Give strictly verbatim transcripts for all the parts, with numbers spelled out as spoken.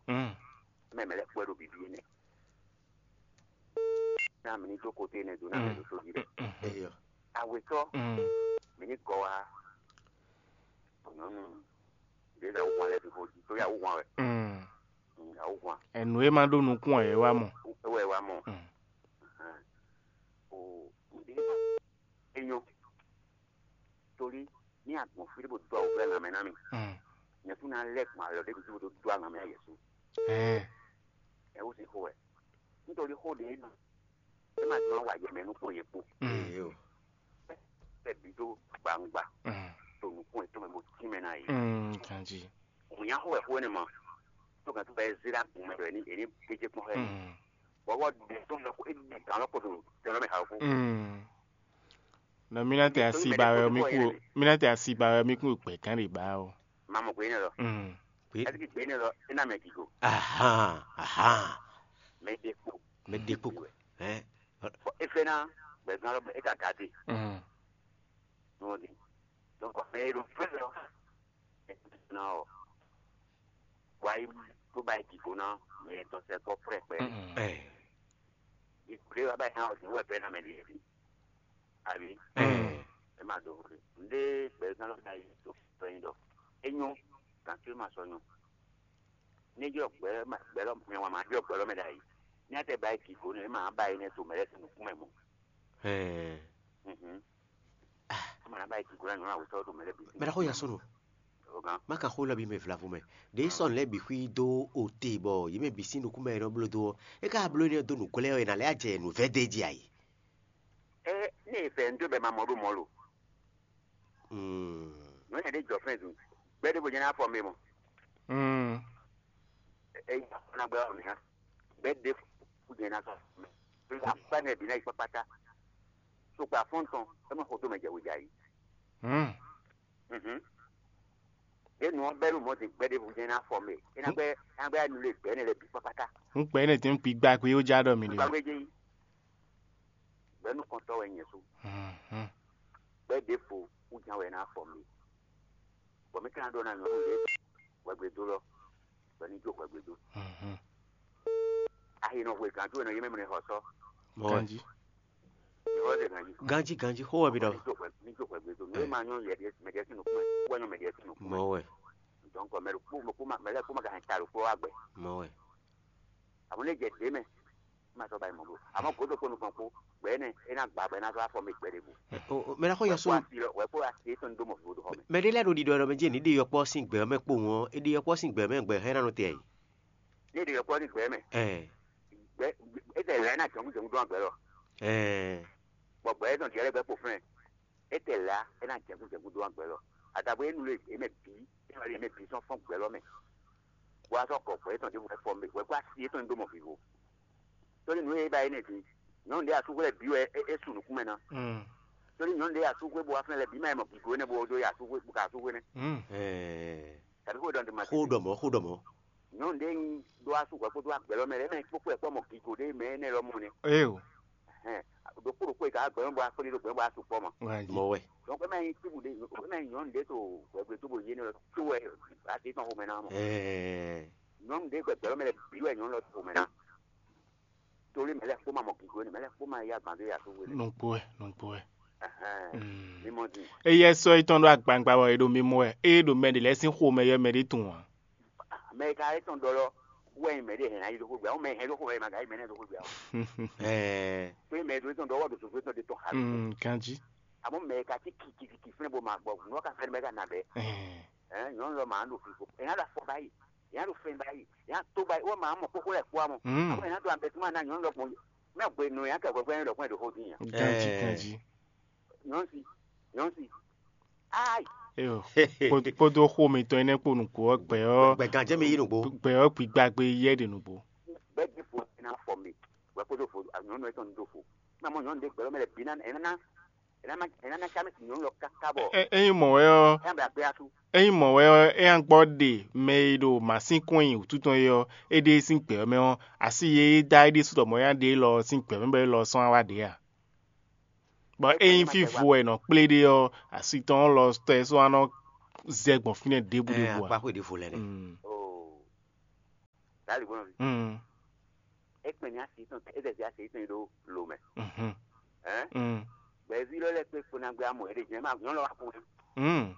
Mm. Mɛ mɛ lɛ́ kpɔ́ ɖo bǐbí énɛ́. Ná mi ní dó koté énɛ́ dó ná mɛ ɖo sójí ɖɛ. Eyɔ. Awetɔ́, mi ní gɔ wá. Nyɔ̌nu ɖě ɖo awuhwan lɛ́ɛ fi xó jí, tó yá awuhwan wɛ. Mm. Mm, awuhwan. Ẹnu e ma ɖó nukún ɛ wá mɔ. É wɛ wá mɔ. Mm. Ahán. O, ɖě é nyɔ́. Torí ní agbɔ̌n fí ɖé bó dó awu vɛ́ lanmɛ ná mì. Mm. Nyɛ kún ná lɛ́ gbɔn alɔ ɖé bǐ bó dó dó lanmɛ ayɛsu. Ɛɛ. Ɛ wú sin xó wɛ. Nítorí xó ɖě é ɖu. É ma jlɔ́n wa yɛ mɛ nú kpɔ́n yě kpo. Mm. Eyó. Bɛ́ bǐ dó gbangba. Mm. To nukún yětɔn mɛ bó tínmɛ ná yě. Mm, ganjí. Òun nyá xó wɛ xó énɛ́ mɔ. Tó gǎn tó bɛ́ zé ɖó agun mɛ ɖɔ é ní é ní gbéjé kpɔ́n xá ɛ. Mm. Bɔbɔ ɖe tó lɔ é ɖe gǎn lɔ kpo ɖo tɛn lɔ mɛ xá xó. Mm. Nɔ mí ná tɛ asi ba wɛ mí kún mí ná tɛ asi ba wɛ mí kún gbɛ gán ɖe ba o. Mamɔ gbé ne lɔ. Mm. Ɛdi gbé ne lɔ é ná mɛ gigo. Ahan, ahan. Mɛ ɖe kpo. Mɛ ɖe kpo. Hein? Bɔ é fɛ ná gbɛ gán lɔ é ka gade. Mm. Nɔ di. Donc mɛ e ɖo fɛ lɔ. Ná ɔ. Wa yi tó ba yi gigo ná mɛ tɔn sɛ kɔ pɛpɛ. Mm. Ɛ. Ìkúlé wa ba yi hã ɔ́ dín wɛ bɛ́ ná mɛ ɖíe. Àbí? Ɛ má dó hwlé. Ndé gbɛzán lɔ ná yi tó fɛ́yìn ɖɔ. É nyɔ́, gǎn tó ma sɔ nyɔ́. Ní jɔ gbɛ gbɛ lɔ mɛ wa ma jɔ gbɛ lɔ mɛ ɖ'ayǐ. Ní a tɛ ba yi gigo nɛ, é ma ba yi nɛ to mɛ lɛ́ɛ sín nukún mɛ mɔ. Ɛ. Mhm. Ama na ba yi gigo ná nyɔ́ awetɔ ɖo mɛ lɛ́ɛ bǐ. Mɛ ɖaxó ya sɔ́ nɔ. Má ka xó lɔ bǐ mɛ vlavo mɛ. Ɖě sɔ́ nǔ lɛ́ɛ bǐ xwí dó ote bɔ yě mɛ bǐ sín nukún mɛ e nɔ bló dó ɔ́, é ka bló énɛ́ dó nǔ glɛ́ ɔ́, è nǎ lɛ́ jɛ nǔ vɛ́ d'é jí ayǐ. Ɛ ní è fɛ nǔ dó bɛ ma mɔ ɖó mɔ lo. Nǔ énɛ́ ɖé jɔ fɛ́n zun. Gbɛ́ ɖěvo jɛ́n ná fɔ mɛ mɔ. Ɛ yí afɔ ná gbɛ ɔ́ mǐ ná. Gbɛ́ ɖěvo jɛ́n ná sɔ mɛ. Afɔ ná bǐ ná yi kpákpátá. Sokpɔ afɔ́n tɔn é mɔ xo dó mɛ jɛ wějɛ ayǐ. Ɖě nǔ ɔ́ bɛ́ nú mɔ̌ din gbɛ́ ɖěvo jɛ́n ná fɔ mɛ. É ná gbɛ́ é ná gbɛ́ nu lé gbɛ̌ nɛ lɛ́ɛ bǐ kpákpátá. Un kpɛ énɛ́ tɛ́n kpí gbá gbé ó já ɖɔ mi ɖe. Gbàgbé jẹ́ yìí. Gbɛ́ nukɔntɔ́ wɛ nyɛ sú. Gbɛ́ ɖěvo wú ján wɛ ná fɔ mɛ. Bɔ mí ka ná ɖɔ ná nyɔ̌nu lě hwɛgbe dó lɔ, bɔ ní jó hwɛgbe dó. Ayi nɔ hwe gǎn jó nɔ yé mɛ mɛ xɔ sɔ. Ganji. Ìwọ ṣe gǎn jí. Ganji, ganji, xó wɛ mi ɖɔ. Ní jó hwɛ ní jó hwɛgbe dó. Nú é ma nyɔ́ yɛ ɖe mɛ ɖe sín nukún mɛ. Wɔ nyɔ́ mɛ ɖe sín nukún mɛ. Mɔ wɛ. Donc mɛ ɖo kpó mɛ kpó ma mɛ lɛ kpó ma ka hɛn ta ɖo kpó wa gbɛ. Mɔ wɛ. Àmọ́ lè jẹ dé mɛ. Má sɔ ba yi mɔ bó. Àmọ́ gǒdo kpó nukɔn kpó. Gbɛ nɛ é ná gbà bɔ é ná sɔ afɔ mi gbɛ ɖe bó. Mɛ ná xɔ yɔ sún. Wɛ kpó asi lɔ wɛ kpó asi é tɔn dó mɔ fífó dó xɔ mɛ. Mɛ ɖé lɛ́ɛ ɖo ɖiɖɔ ɖɔ mɛ jí ní ɖe yɔkpɔ́ sín gbɛ mɛ kpó wọn, é ɖe yɔkpɔ́ sín gbɛ mɛ gbɛ hɛn ná nɔ te ayǐ. Ní ɖe yɔkpɔ́ sín gbɛ mɛ. Ɛ Gbɛ é tɛ lɛ ná jɔngu jɔngu dó agbɛ lɔ. Ɛ Bɔ gbɛ é tɔn diɛ lɛ gbɛ kpo flɛn. É tɛ la é ná jɛgu jɛgu dó agbɛ lɔ. Adabɔ é nu lé é mɛ bǐ é wá lé é mɛ bǐ sɔn fɔn gbɛ lɔ mɛ. Bó wá sɔ́ kɔ gbɛ é tɔn ɖěvo fɔ mɛ wɛ kó asi é tɔn dó mɔ vivo. Sórí nǔ e é ba é nɛ́ din nyɔ̌nu ɖé asúxwé lɛ́ɛ bǐ wɛ é é su nǔkún mɛ ná. Sórí nyɔ̌nu ɖé asúxwé bó wá flɛ́n lɛ́ɛ bǐ má yi mɔ gǐgó énɛ́ bó dó yi asúxwé bó ka asúxwé nɛ́. Ɛ Tàbí xó ɖɔ ɖe ma Xó ɖɔ mɔ̌, xó ɖɔ mɔ̌. Nyɔ̌nu ɖé nyi ɖó asúxwé kpódó agbɛ̌ lɔ mɛ lɛ́ɛ mɛ kpókpó ɛ kpɔ́ mɔ gǐgó ɖé mɛ énɛ́ lɔmɔ̌ nɛ́. Eo. Hɛn ɖokpó ɖokpó e ka wá gbɛ̌ mɛ bó wá kplé ɖó gbɛ̌ mɛ bó wá su kpɔ́ mɔ. Wájí. Mɔ̌ wɛ. Donc é má nyí tíbú ɖé é má nyí nyɔ̌nu ɖé to hwɛgbe tó bo yé nɛ́ lɔ tó wɛ asi tɔn xomɛ ná mɔ. Ɛɛ. Nyɔ̌nu ɖé gbɛgbɛ́ lɔ mɛ lɛ́ɛ bǐ wɛ nyɔ̌nu lɔ to xomɛ ná. Torí mɛ lɛ́ɛ kpó ma mɔ gǐgó énɛ́, mɛ lɛ́ɛ kpó ma yá gbǎn dó ya tó wele. Nukpó wɛ, nukpó wɛ. Ẹhɛn. Mm. Mímɔ din. Eye sɔ́ yětɔn ɖó agbangba bɔ è ɖo mimɔ wɛ, eye ɖo mɛ ɖě lɛ́ɛ sín xomɛ yɔ mɛ ɖé tunwun ǎ. Mɛ e ka é tɔn ɖɔ lɔ wɛ nyi mɛ ɖé hɛn ayi ɖokpó gbé, àwọn mɛ hɛn ɖokpó mɛ ma ka yi mɛ nɛ ɖokpó gbé àwọn. Ɛɛ. Pé mɛ ɖo é tɔn ɖɔ wɔ ɖo sofo tɔn ɖe tɔn xa. Mm, ganji. Àmọ́ mɛ e ka tí kìkìkì fúnɛ bó ma gbɔ nɔ ka fɛn mɛ ka nà bɛ. Ɛɛ. Ɛ nyɔnu lɔ ma ɖo fifo, ɛ nya ɖo afɔ ba yi, ɛ nya ɖo fɛn ba yi, ɛ nya to ba yi, wɔ ma mɔ kókó lɛ kpó amɔ. Mm. Àmọ́ ɛ nya ɖo abɛ tó ma ná nyɔnu lɔ gbɔn, mɛ gbé nɔ nya kɛ gbɛgbɛ ɖɔ kpɔn ɖo xó dín ya. Ganji, Ɛɛ. Ganji. Nyɔnu si, nyɔnu si. Ayi. Eyo. Kpó- Kpódó xó mitɔn énɛ́ kpó nǔgbó ɔ́ gbɛ ɔ́ Gbɛ gán jẹ́ mi yí nùgbó. Gbɛ ɔ́ gbígbá gbé yɛ ɖe nǔgbó. Gbɛ di fo ɛ na fɔ mi. Gbɛ kpódó fo nyɔnu ɛ tɔn do fo. Na mɔ nyɔnu de gbɛ lɔ mɛ lɛ bi na ɛ na ɛ na ma ɛ na na sami si nyɔnu lɔ kaka bɔ. Ɛ- Ɛ- Ényí mɔ̌ wɛ ɔ́, ɛ na bɛ akpé asu. Ényí mɔ̌ wɛ ɔ́, é nya gbɔ ɖe mɛ e ɖo mǎsínkɔn nyi wǔtu tɔn é ɔ́, é ɖe sín gbɛ ɔ́ mɛ ɔ́, asi e é dá é ɖésú ɖɔ mɔ̌ nya ɖe élɔ́ ɔ́ sín gbɛ mɛ bɔ élɔ́ ɔ́ sɔ́ wá wá ɖě a? Bɔ ényí fífo wɛ è nɔ kplé ɖe ɔ́, asi tɔn ɔ́ lɔ tɔn ɛ sɔ́ wá nɔ zɛ gbɔn fínɛ́ ɖěbǔ Ɛ ɖěbǔ ǎ. Akpáxwé ɖěvo lɛ́ɛ nɛ. Mm. Oh. Dali gbɔn nɔvi. Mm. E kpɛn ni asi tɔn, e dɛ si asi tɔn ɖo lo mɛ. Mhm. Hein? Mm. Gbɛvi lɔ lɛ kpe kpo na gbɛ amɔ e de jɛn ma nyɔn lɔ wa kpo. Mm.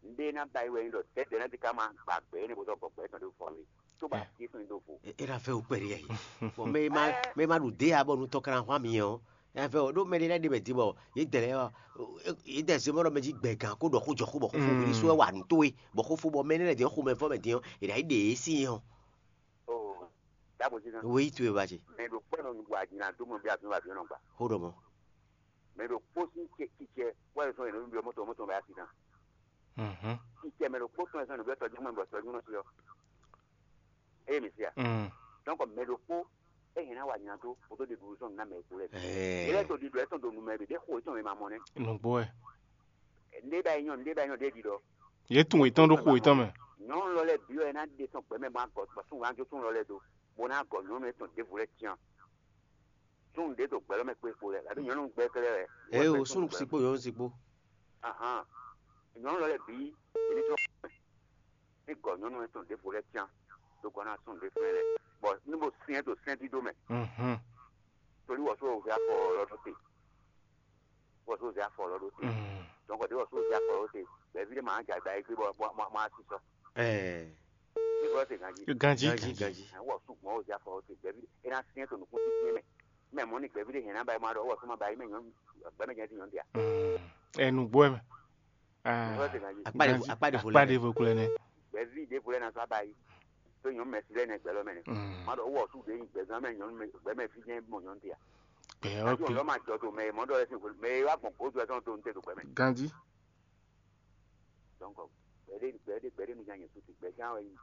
Nde na ba yi wɛ ni dɔ tɛ dɛ na di ka ma gba gbɛ ne bo dɔ gbɔ gbɛ tɔn de fɔ mi. To ba asi tɔn do fo. E ra fɛ o kpɛri yɛ. Bon, mɛ ma mɛ ma ɖu de abɔ nu tɔ kana hwa mi yɛ o. Ya fɛ o ɖo mɛ ɖe lɛ ɖe mɛ di bɔ ye dɛ lɛ yɔ ye dɛ se mɔ ɖɔ mɛ ji gbɛ gan ko ɖɔ ko jɔ ko bɔ ko fo wuli so wa nu to ye bɔ ko fo bɔ mɛ ne lɛ di xo mɛ fɔ mɛ di yɔ e ɖa yi ɖe e si yɔ. Oh, dabo si kan. Wo yi tu ye ba ce. Mɛ ɖo kpɛ nɔ nu bɔ adina do mɔ bi afi wa bi nɔ gba. Xo ɖɔ mɔ. Mɛ ɖo kpó sín cɛ cicɛ wɛ sɔn yɛn nɔ bi mɔtɔ mɔtɔ bɛ asi kan. Mhm. Cicɛ mɛ ɖo kpó sɔn yɛn sɔn yɛn nɔ bi tɔjú mɛ bɔ tɔjú nɔ si yɔ. Eye mi sia. Mm. Donc mɛ ɖo kpó e hɛn na wa nya tó o tó de dúró sɔn na mɛ ko lɛ. Eh. Ele to di do etɔn do numɛ bi de xo etɔn mi ma mɔ nɛ. Nugbo ɛ. Nde ba yi nyɔ nde ba yi nyɔ de di dɔ. Ye tun etɔn ɖo xo etɔn mɛ. Nyɔnu lɔ lɛ bi wɛ na de sɔn gbɛmɛ ma gɔ ba sun wa jo sun lɔ lɛ do. Bo na gɔ nyɔnu etɔn devu lɛ tian. Sun de to gbɛlɔ mɛ kpe ko lɛ. Labi nyɔnu gbɛ kɛlɛ wɛ. Ee o sunu sikpo nyɔnu sikpo. Ahan. Nyɔnu lɔ lɛ bi. Ele tɔn. Ní gɔ nyɔnu etɔn ɖěvo lɛ́ɛ cyán dó gɔ́ ná sún ɖě fɛ́n lɛ́ɛ, bɔ ní bo syɛ́n ɖo sɛ́n dídó mɛ, Mhm. tóli wɔ só hwɛ afɔ lɔ ɖó te, wɔ só hwɛ afɔ lɔ ɖó te, Mhm. donc ɖě wɔ só hwɛ afɔ lɔ ɖó te, bɛ̌ví ɖé ma jɛ agba yi gbé bɔ ma ma sísɔ. Ɛɛ. Ní bɔ se ganjí. Ganjí. Ganjí, ganjí. Wɔ sú gbɔn wɔ hwɛ afɔ lɔ ɖó te, bɛ̌ví é ná syɛ́n to nǔkún títí mɛ. Mɛ mɔ̌ ni gbɛ̌ví ɖé hɛn ná ba yi ma ɖɔ wɔ só ma ba yi mɛ nyɔ̌nu gbɛ̌mɛ jɛ dín nyɔ̌nu dia. Mm. Ɛ nǔgbó ɛ mɛ. Ah, Akpa ɖevo, akpa ɖevo lɛ. Akpa ɖevo kulɛ nɛ. Gbɛ̌ví ɖěvo lɛ́ɛ ná sɔ́ aba yi. Tó nyɔ̌nu mɛ si lɛ́ɛ nɛ gbɛ̌ lɔ mɛ nɛ. Mm. Má ɖɔ wó wɔ sú ɖě nyi gbɛ̌zán mɛ nyɔ̌nu mɛ gbɛ̌ mɛ fí jɛ́n mɔ nyɔ̌nu te a. Gbɛ ɔ Ajo kpi. Lɔ ma jɔ to mɛ e mɔ ɖɔ lɛ sín hwenu mɛ e wá gbɔn gǒdo ɛ tɔn to ntɛ to gbɛ mɛ. Ganji. Donc gbɛɖé gbɛɖé gbɛɖé mi nya nyɛ susu gbɛzán wɛ nyi.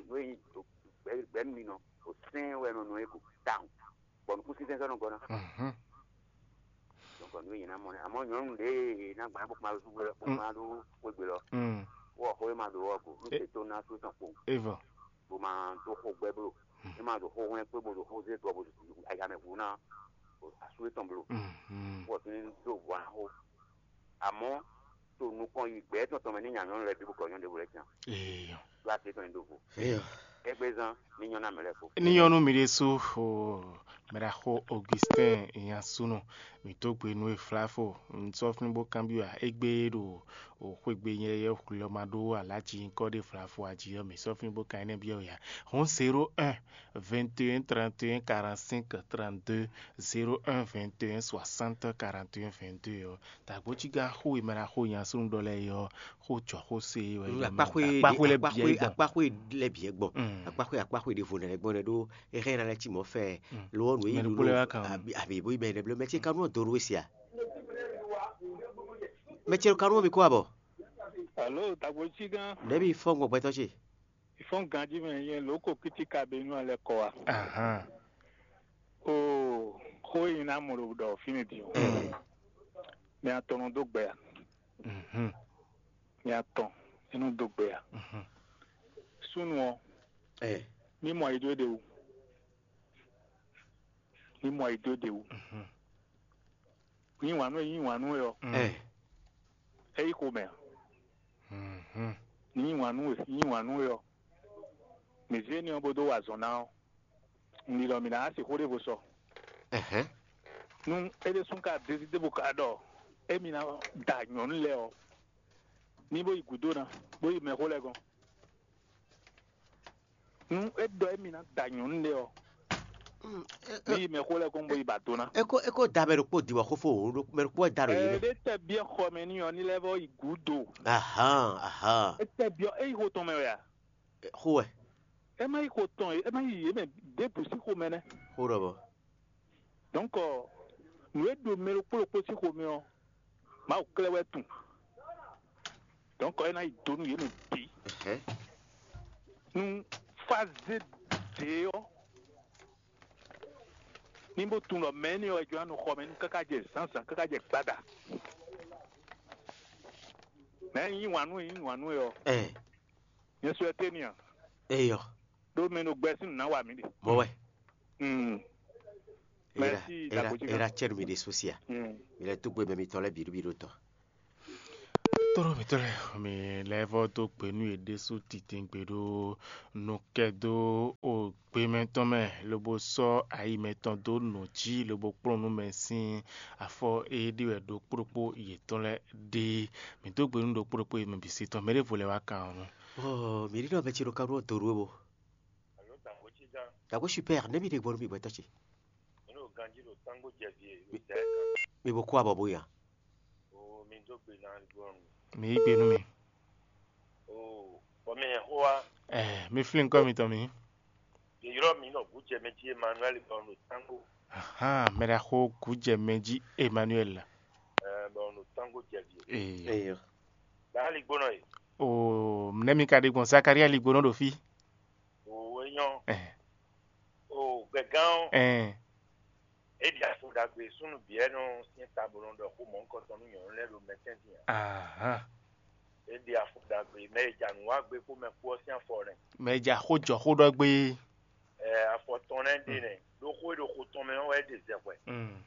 Nú e nyi gbɛ gbɛ mi nɔ o sɛn wɛ nɔ nɔ e ko tawun. Bɔ nukúnsínsɛ́n sɔ́ nɔ gɔ́ ná. Mhm. Donc nú e nyɛ ná mɔ nɛ. Amɔ̌ nyɔ̌nu ɖě e ná gbɔn bó ma ɖó súgbó bó ma ɖó xwégbé lɔ. Mm. Wɔ xó e ma ɖó wɔ go. Nú E- te tó ná sú tɔn kpo. Evɔ. Bó ma dó xó gbɛ́ bló. Mm. É ma ɖo xó hwlɛ́n kpé bó ɖo xó zé dɔ bó ɖo ayamɛ hu ná asú étɔn bló. Mhm. Wɔ tún ní dó vɔ axó. Àmọ́ to nukɔn yi gbɛ̌ tɔn tɔn mɛ ní nya nyɔ̌nu lɛ́ɛ bǐ bó kɔ nyɔ̌nu ɖěvo lɛ́ɛ tán. Ee. Ɖó así tɔn nyi ɖó vo. Eyɔ. Égbé zán ní nyɔ́ ná mɛ lɛ́ɛ fó. Ní nyɔ́ nú mi ɖésú o, mɛɖaxó Augustin Nyansúnɔ, mǐ dó gbe nú we Flafo, un sɔ́ fínú bó kanbyɔ́ ǎ. Égbé ɖo o xwégbé nyɛ yɛ hwlɔ́ ma ɖó alǎ jí nyǐkɔ ɖé Flafo ají ɔ́, mǐ sɔ́ fínú bó kan énɛ́ byɔ́ we ǎ. Hɔn zéro un, vingt et un, trente et un, quarante-cinq, trente-deux, zéro un, vingt et un, soixante, quarante et un, vingt-deux ɔ́, Dǎgbójígán xó e mɛ ná xó nyi asúnúɖɔ lɛ́ɛ é ɔ́, xó jɔ xó se wɛ. Mm, akpáxwé akpáxwé lɛ́ɛ bǐ akpáxwé gbɔn. Akpáxwé lɛ́ɛ bǐ gbɔn. Mm. Akpáxwé akpáxwé ɖěvo nɛ́ lɛ́ɛ gbɔn nɛ́ ɖó é hɛn ná lɛ́ cí mɔ̌ fɛ. Lowɔnu é Mɛ yí ɖokpó lɛ́ɛ wá kan o. Abi abi bó yí bɛ ɖɛblɛ mɛ ce kanú dó ɖó é sia. Mɛ ce kanú mi kó abɔ. Alo, Dǎgbójígán. Nɛ̌ mi fɔ́n gbɔn gbɛtɔ́ ce? Ìfɔ́n ganjí mɛ nyɛ lǒ ko kítíkà be nú alɛ kɔ wa. Ahan. Oo, xó e nyí ná mɔ ɖo ɖɔ fínɛ́ din ɔ́, Mm. mɛ atɔn nɔ dó gbɛ a? Mhm. Mɛ atɔn é nɔ dó gbɛ a? Mhm. Súnnu ɔ́, Ɛ. Mí mɔ yi dó ɖe wú. Mí mɔ yi dó ɖe wú. Mhm. Yí wǎn nú e yí wǎn nú we ɔ́, Mm. Ɛ. É yí xomɛ a? Mhm. Ní yí wǎn nú we, yí wǎn nú we ɔ́, mǐ zé ní ɔ́ bó dó wa azɔ̌ ná ɔ́, un ɖi ɖɔ mǐ ná wá sixú ɖěvo sɔ. Ɛhɛn. Nú é ɖésú ka dezidé bó ka ɖɔ émí ná da nyɔ̌nu lɛ́ɛ ɔ́, ní bó yi gǔdo ná, bó yi mɛxó lɛ́ɛ gɔ́n. Nú é ɖɔ émí ná da nyɔ̌nu lɛ́ɛ ɔ́, Mm, ɛ- ní ɛ- yi mɛxó lɛ́ɛ gɔ́n bó yi ba do ná. É ko é ko da mɛ ɖokpó di bɔ xó fó wǒ ɖó mɛ ɖokpó wɛ da ɖo yě mɛ. Ɛɖé tɛ byɔ́ xɔ mɛ n'i ɔ́, ní lɛ́ vɔ́ yi gǔdo. Ahan ahan. É tɛ byɔ́ é yi xo tɔn mɛ wɛ a? Xó wɛ. É má yi xo tɔn é má yi yě mɛ ɖěbǔ sín xomɛ nɛ́. Xó ɖɔ bɔ. Donc nǔ e ɖo mɛ ɖokpó ɖokpó sín xomɛ ɔ́, Mawu klɛ́ wɛ tunwun. Donc é ná yi do nú yě mɛ bǐ. Ɛhɛn. Nú fázé dě ɔ́, ní bó tunwun ɖɔ mɛ énɛ́ ɔ́ wɛ jló ná nɔ xɔ mɛ nú káká jɛ zǎnzǎn káká jɛ gbada. Mɛ e yí wǎn nú e yí wǎn nú e ɔ́, Ɛ. Nyɛ sɔ ɛ tɛ́ n'i a? Eyɔ. Ɖó mɛ e nɔ gbɛ sín nǔ ná wa mǐ ɖe. Mɔ wɛ. Mm. Era Merci, era Dagbojigan. Era cɛnu mi ɖe sosia. Mm. Mi lɛ tó gbé mɛ mitɔn lɛ bǐɖó bǐɖó tɔn. Tlóló mǐtɔn lɛ́ɛ, mi lɛ́ vɔ́ dó gbe nú yě ɖésú titewungbe ɖó nukɛ́dó o gbe mɛtɔn mɛ, lobo sɔ́ ayi mɛtɔn dó nǔ jí, lobo kplɔ́n nú mɛ sín afɔ e ɖe wɛ ɖokpó ɖokpó yětɔn lɛ́ɛ ɖe. Mǐ dó gbe nú ɖokpó ɖokpó e mɛ bǐ se tɔn, mɛ ɖěvo lɛ́ɛ wá kan ɔ́ nu. Ɔɔ, mǐ ɖi nɔ mɛ ce ɖo ka ɖó dǒ ɖó we bo. Alo dǎngbó cí gán. Dǎngbó super, nɛ̌ mi ɖe gbɔ nú mi gbɛtɔ́ ce? Mǐ ɖo ganjí ɖo tángbó jɛ vǐ e, ɖo dɛ̌ kan. Mi bo kú abɔ bó ya. O mi dó gbe ná gbɔn. Mi yí gbe nú mi. O bɔ mi hɛn xó wá. Ɛ, mi flín nukɔn mitɔn mi. Yě ylɔ́ mǐ ɖɔ gǔ jɛ mɛ jí Emmanuel bɔ ɖo tángbó. Ahan, mɛ ɖaxó gǔ jɛ mɛ jí Emmanuel. Ɛ, bɔ ɖo tángbó jɛ vǐ e. Ee. Eyo. Dǎ ligbónɔ e. O nɛ́ mi ka ɖe gbɔn Zakaria ligbónɔ ɖo fí? O é nyɔ́. Ɛ. O gbɛ̀gán ɔ́. Ɛ. É ɖi afo ɖagbe súnnu bǐ ɛ́ nɔ syɛ́n tabolɔ ɖɔ xó mɔ̌hunkɔtɔn nú nyɔ̌nu lɛ́ɛ ɖo mɛtɛ́ntin ǎ. Ahan. É ɖi afo ɖagbe mɛ e ja nǔ wa gbé kpó mɛ kpó ɔ́ sín afɔ nɛ́. Mɛ e ja xó jɔ xó ɖɔ gbé. Ɛ afɔ tɔn nɛ́ ɖe nɛ́ ɖó xó e ɖo xo tɔn mɛ ɔ́ wɛ é ɖe zɛ hwɛ. Mm.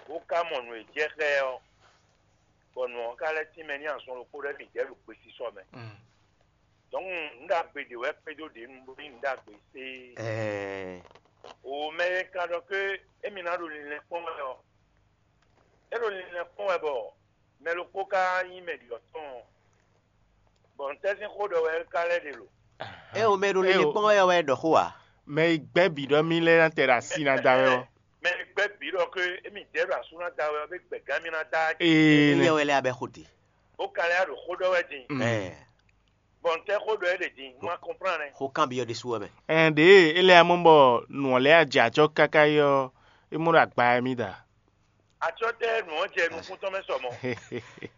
Bó ka mɔ nǔ e jɛ xá ɛ ɔ́, bɔ nǔ ɔ́ ka lɛ́ tínmɛ n'i azɔn ɖokpó ɖɔ émí ɖɛ̌ ɖo gbesisɔ mɛ. Mm. Donc nǔ ɖagbe ɖě wɛ kpédó ɖě nu bó nyí nǔ ɖagbe séé. Ɛɛ. O mɛ e ka ɖɔ ké émí ná ɖo linlɛn kpɔ́n wɛ ɔ́, é ɖo linlɛn kpɔ́n wɛ bɔ mɛ ɖokpó ka nyí mɛ ɖiɖɔ tɔn ɔ́, bɔ ntɛ́ sín xó ɖɔ wɛ é ka lɛ́ ɖe lo? É o mɛ ɖo linlɛn kpɔ́n wɛ ɔ́ wɛ ɖɔ xó ǎ. Mɛ e gbɛ́ bǐ ɖɔ mì lɛ́ɛ ná tɛ ɖo asi ná da wɛ ɔ́. Mɛ e gbɛ́ bǐ ɖɔ ké émí ɖɛ̌ ɖo asú ná da wɛ ɔ́, bé gbɛ̌gán mì ná da. Ee. Éyɛ́ wɛ lɛ́ɛ abɛ xó te. Bó ka lɛ́ ɖo xó ɖɔ wɛ din. Mm. Ɛɛ. Bɔ ntɛ́ xó ɖɔ é ɖe din, un ma kɔnplán nɛ. Xó kanbyɔ́ ɖésú wɛ mɛ. Ɛn ɖě e é lɛ́ amɔ bɔ nǔ ɔ́ lɛ́ ajɛ acɔ́ káká é ɔ́, é mɔ ɖo agba wɛ mì da. Acɔ́ tɛ́ nǔ ɔ́ jɛ nukún tɔn mɛ sɔ mɔ̌.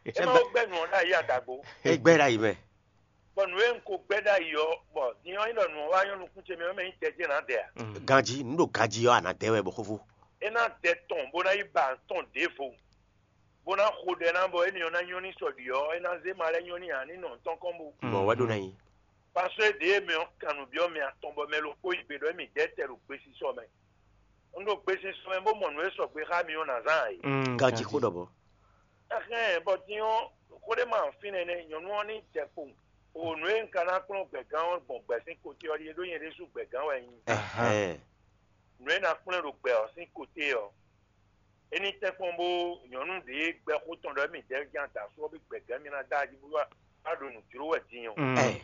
É ma ko gbɛ́ nǔ ɔ́ ɖ'ayǐ adagbo. É gbɛ́ ɖ'ayǐ mɛ. Bɔ nǔ e un ko gbɛ́ ɖ'ayǐ ɔ́, bɔ din ɔ́ nyí ɖɔ nǔ ɔ́ wá nyɔ́ nukún ce mɛ ɔ́ mɛ nyí tɛjɛ́ nǎ dɛ ǎ. Ganjí, nǔ ɖo ganjí ɔ́, a nǎ dɛ wɛ bɔ xófó. É ná dɛ tɔn bó ná yi ba tɔn ɖěvo, bó ná xo ɖɛ ná bɔ énɛ́ ɔ́ ná nyɔ́ ní sɔ ɖi ɔ́, é ná zé ma lɛ́ nyɔ́ ní ǎ ní nɔ tɔn kɔn bó. Mɔ̌ wɛ ɖó ná nyí. Paso e ɖě e mɛ ɔ́ kan nǔ byɔ́ mɛ atɔn bɔ mɛ ɖokpó yi gbe ɖɔ émí dɛ́ tɛ ɖo gbesisɔ mɛ. Un ɖo gbesisɔ mɛ bó mɔ nǔ e sɔgbe xá mi ɔ́ ná zán ǎ é. Mm, Ganjí xó ɖɔ bɔ. Ɛhɛn, bɔ din ɔ́, xó ɖé ma fínɛ́ nɛ́, nyɔ̌nu ɔ́ ní jɛ kpowun. O nǔ e un ka ná kplɔ́n gbɛ̌gán ɔ́ gbɔn gbɛ̌ sín koté ɔ́ ɖíe, ɖó nyɛ ɖésú gbɛ̌gán wɛ nyí. Ɛhɛn. Nǔ e ná kplɔ́n ɖo gbɛ ɔ́ sín koté ɔ́, é ní tɛ́nkpɔ́n bó nyɔ̌nu ɖě gbɛ́ xó tɔn ɖɔ émí dɛ́ gán da só ɔ́ bí gbɛ̌gán mi ná dá jí bó wá ɖo nǔ jló wɛ din ɔ́. Mm. Ɛ.